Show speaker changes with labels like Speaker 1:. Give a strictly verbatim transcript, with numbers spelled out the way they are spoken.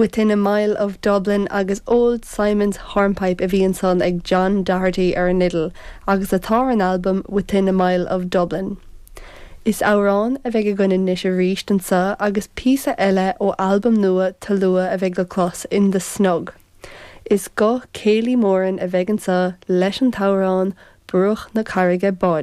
Speaker 1: Within a Mile of Dublin agus Old Simon's Hornpipe a bhí ansan ag John Doherty ar an fhidil agus atá ar an albam Within a Mile of Dublin. Is amhrán a bheidh againn anois arís anseo agus píosa eile ó albam nua Talua a bheidh le clos in The Snug. Is guth Kaylee Moran a bheidh anseo leis an t-amhrán Bruach na Carraige Báine.